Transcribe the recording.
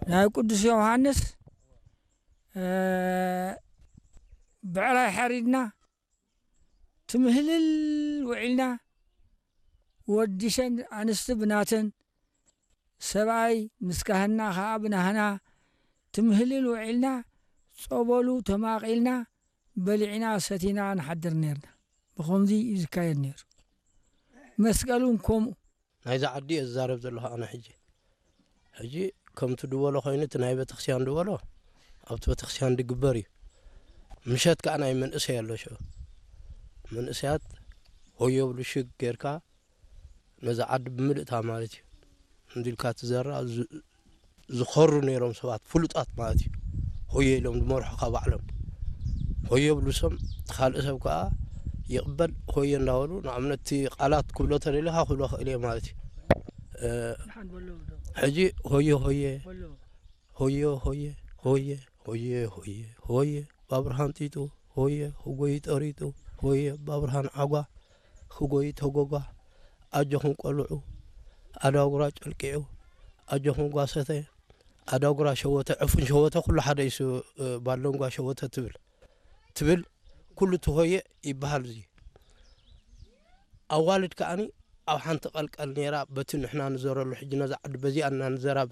ናይ ቅዱስ ዮሃንስ፣ እ፣ ብዕራይ ሓሪድና ትምህልል ውዒልና፣ ወዲሰን ኣንስቲ ብናተን፣ ሰብኣይ ምስ ካህንና ኸኣ ብናህና ትምህልል ውዒልና፣ ጸበሉ ተማቒልና፣ በሊዕና ሰቲና ንሓድር ኔርና። ብኸምዚ እዩ ዝካየድ ኔሩ። መስቀል እውን ከምኡ። ናይዛ ዓዲ እየ ዝዛረብ ዘለኹ ኣነ ሕጂ። ሕጂ ከምቲ ድበሎ ኮይኑ፣ እቲ ናይ ቤተክርስትያን ድበሎ ኣብቲ ቤተክርስትያን ድግበር እዩ። ምሸት ከኣ ናይ መንእሰይ ኣሎ ሽዑ። መንእሰያት ሆዮ ብሉ ሽግ ጌርካ ነዛ ዓዲ ብምልእታ ማለት እዩ። እንዲልካ ትዘራ ዝ-፣ ዝኾሩ ነይሮም ሰባት ፍሉጣት ማለት እዩ። ሆየ ኢሎም ዝመርሑኻ ባዕሎም። ሆየ ብሉ፣ ሰም እቲ ካልእ ሰብ ከኣ ይቕበል፣ ሆየ እንዳበሉ፣ ንኣብነት እቲ ቃላት ክብሎ ተደሊኻ ክብሎ ክእል እየ ማለት እዩ። እ፣ ሕጂ ሆየ ሆየ፣ ሆየ ሆየ፣ ሆየ ሆየ፣ ሆየ ሆየ፣ ባብርሃን ጢጡ፣ ሆየ ህጎይ ጠሪጡ፣ ሆየ ባብርሃን ዓጓ፣ ህጎይ ተጎጓ፣ ኣጆኹም ቆልዑ፣ ኣዳጉራ ጨልቂዑ፣ ኣጆኹም ጓሰተ፣ ኣዳጉራ ሸወተ፣ ዕፉን ሸወተ፣ ኩሉ ሓደ እዩ። እ፣ ባሎንጓ ሸወተ ትብል፣ ትብል፣ ኩሉ እቲ ሆየ ይበሃል። እዚ ኣዋልድ ከኣኒ ኣብ ሓንቲ ቀልቀል ነይራ፣ በቲ ንሕና ንዘረሉ፣ ሕጂ ነዛ ዓዲ በዚኣ እና ንዘራ፣